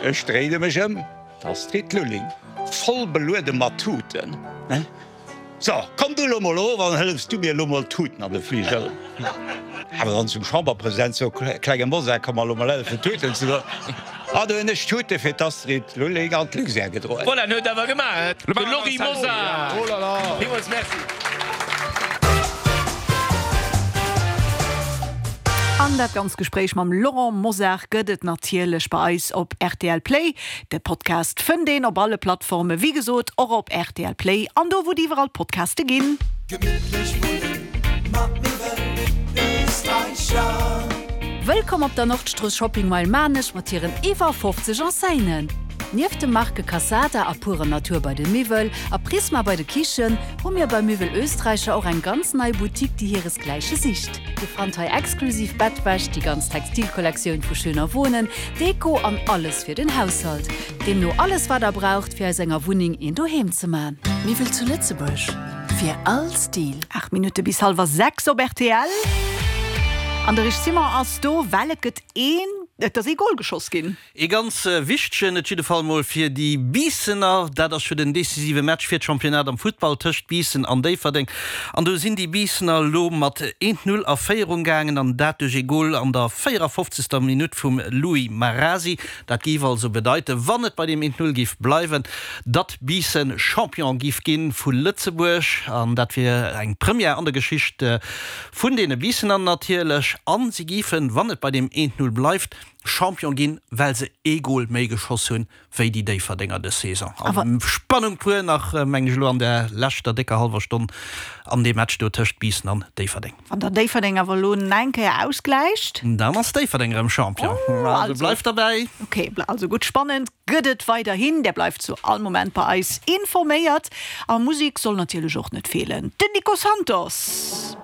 Ech dréine mech ëm, d'Astrid Lulling, voll beluede mat Tuten. So, komm du lo mol of an hëllefs du mir lo mol d'Tuten an de Fliger. Awer dann zum Chamberpresident, So, klenge Mosar, komm mer lo mol hëllefen d'Tuten ze droen. An du hunn ech d'Tute fir d'Astrid Lulling an d'Luxair gedroen. Voilà, en huet awer gemaach, de Lory Mosar. Villmools Merci. An dat ganz Gespréich mam Laurent Mosar gëtt et natierlech bei eis op rtl Play. De Podcast fënnt een op alle Plattformen, wéi gesot och op rtl Play an do wou et iwwerall Podcaste ginn. Gemittlech wunnen mat Miwwel Österreicher. Wëllkomm op der Nordstrooss Shopping Mile Maarnech mat hiren iwwer 50 Enseignen! Nieft de Marke Cassada a Pure Natur bei de Miwwel a Prisma bei de Kichen, hu mir bei Miwwel Österreicher och eng ganz nei Boutique déi hiresgläiche sicht. Dir fannt hei exklusiv Bettwäsch, déi ganz Textilkollektioun vu Schöner Wohnen, Deko an alles fir den Haushalt. Deemno alles wat der braucht fir aus enger Wunneng een Doheem ze man. Miwwel zu Lëtzebuerg, fir all Stil. 8 Minutte bis hallwer 6 op rtl. An de Rich Simon ass do, well et gëtt een, et ass ee Gol geschoss ginn. Ee ganz wichtegen, et jidde Fall mol fir déi Biissener. Dat ass jo den decisive Match fir d'Championnat am Futtball tëscht Biissen an Déifferdeng. An do sinn déi Biissener elo mat 1, 0 a Féierung gaangen an dat duerch ee Gol an der 54. Minutt vum Louis Marasi. Dat géif also bedeiten, wann et bei deem 1, 0 géif bleiwen, datt Biissen Champion géif gi vu Lëtzebuerg. An dat wier eng Première an der Geschicht vun deene Biissener natierlech. A si géifen, wann et bei deem 1, 0 bleift, Champion ginn, well se ee Gol méi geschoss hunn wéi déi Déifferdenger dës Saison. Also Spannung pur nach, mengen ech elo, an der leschter décker hallwer Stonn an deem Match do tëscht Biissen an Déifferdeng. Wann dann Déifferdeng awer elo nach eng Kéier ausgläicht? Dann ass Déifferdeng erëm Champion. Also bleift derbäi. Ok, also gutt, spannend gëtt et weiderhin. Där bleift zu all Moment bei eis informéiert. A Musek soll natierlech och net feelen, den Nico Santos.